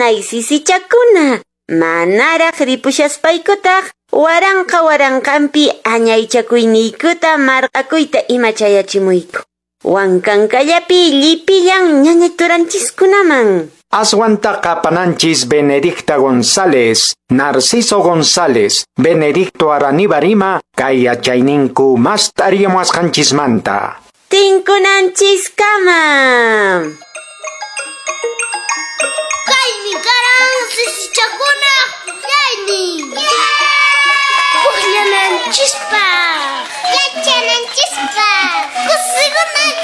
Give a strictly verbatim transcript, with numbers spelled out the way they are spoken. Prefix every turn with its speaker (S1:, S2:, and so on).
S1: Nanay sisichakuna, manaraq ripushaspaykutaq waranqa waranqanpi añaychakuyniykuta marq'akuyta ima chayachimuyku. Wankankallapi llipillan ñañaturanchiskunaman.
S2: Aswantaqa pananchis Benedicta González, Narciso González, Benedicto Araníbar ima kay yachayninku mast'ariyamuwasqanchismanta.
S1: Tinkunanchiskama.
S3: Kaymi karan sisichakunaq pukllaynin. Pukllananchispaq, yachananchispaq, kusikunanchispaq.